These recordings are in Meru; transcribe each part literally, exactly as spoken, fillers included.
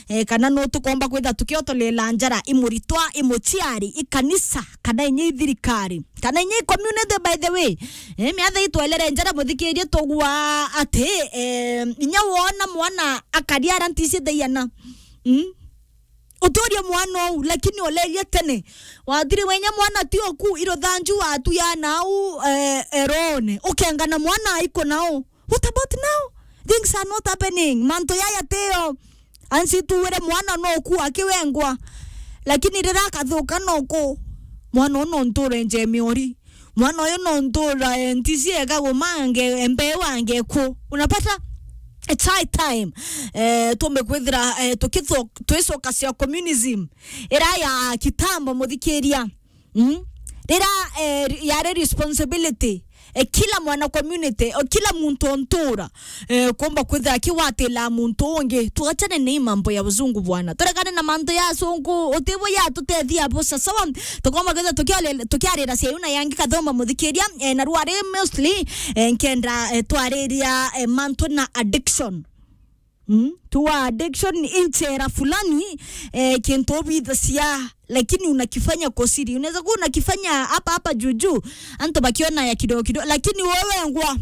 eh, kana no tukomba kwitha tukiotolela njara i muritwa, i muciari, i kanisa, kana inya i thirikari, kana inya i community, by the way. Eh, miatha itwelere njara, muthikirie, tugua ati, eh, inya wona mwana akari ara ntisi theiana. Mm? Uturie mwana ou, lakini olerie tene. Wathiri wenya mwana ti oku, iruthanju watu ya nau, eh, erone. Ukengana mwana aiko nao. What about now? Things are not happening. Mantu yaya teo. Ansi tuwire mwana no ku akiwengwa. Lakini rira akathuka no ku. Mwana uno nture nje miori. Mwana uyu no ntura, eh, ntisi eka gumange, mbeu ange ku. Unapata? It's high time. Eh, tumbe kwithira, eh, tukitho-, twicoka cia communism. Ira ya kitambo, muthikiria. Mm? Rira, eh, yari responsibility, eh, kila mwana community, o kila muntu o ntura, eh, kumba kwithira akiwatila muntu ungi. Tuachane na hii mambo ya uzungu bwana. Turekane na mantu ya asungu, utibo ya tutethia busa. Sawa, tukomba kwithira tukiale-, tukiarira cia yuna yangi kathomba muthikiria, eh, na rwari mostly, eh, nkenda, eh, twariria, eh, mantu na addiction. Mm? Tuwa addiction inchera fulani, eh, kintu ubithacia, lakini unakifanya kwa siri. Unaweza kuwa unakifanya hapa hapa juu juu, antu bakiona ya kidogo kidogo, lakini wewe ngwa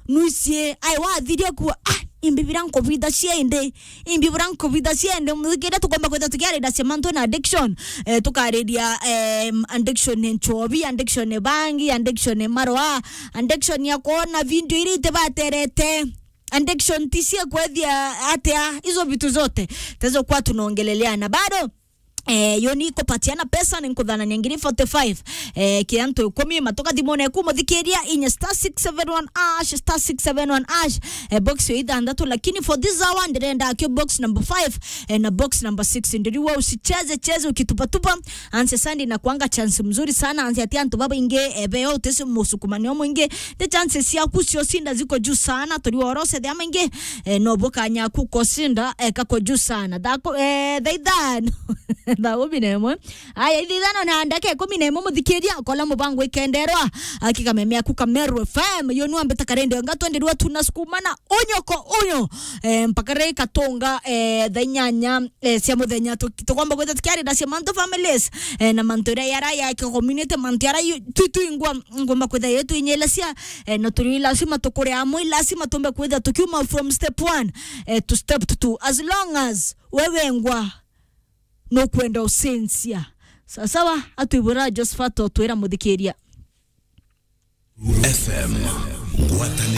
nuisie, ai wathiria kuwa, ah, imbi bira nkubithacia indi, imbi bira nkubithacia indi, muthikiria tukomba kwitha tukiariria cia mantu na addiction, eh, tukariria, em, addiction ni nchobi, addiction ni bangi, addiction ni maroa, addiction ya kuona video iria itibaterete. Addiction ti cia kwethia atia, hizo vitu zote. Tezo kwa tunaongelelea na bado, eh, yo ni kupatiana pesa, ni nkuthanania ngiri forty-five, eh, ki antu ikumi, matoka thimone ku muthikiria inya star six seven one hash, star six seven one hash, eh, box yo ithanthatu, lakini for this hour ndirenda kio box number five, eh, na box number six. Ndiriwa usicheze cheze ukitupatupa, anse sandi na kuanga chance mzuri sana, anse ati antu baba inge, eh, beo utesi musukumani omwingi, the chances ciaku cio cinda ziko juu sana, turi orose thia maingi, eh, no bukanya ku kosinda, eh, kako juu sana. Thako, eh, thaa ithano. Thaa kumi na imwe. Aya, ithaa ithano na ndaka ikumi na imwe muthikiria, kola mubango ikenderwa, akikameme aku Kameru F M, yo nuambita karende nga twenderwa tunasukumana, unyo ko unyo, eh, mpaka rei katonga, eh, thaa inyanya, eh, cia muthenya, tu-, tukomba kwitha tukiarira cia mantu families, eh, na mantu iria yara ya community, mantu yara yu-, twi-, twingwa, ngomba kwitha yo twinyelecia, eh, na turi lazima tukure amwe, lazima tumbe kwitha tukiuma from step one, eh, to step two. As long as wewe ngwa nukwenda ucenjia. Sawa sawa, atwibura Josephat otwira muthikiria. F M, ngwataniro.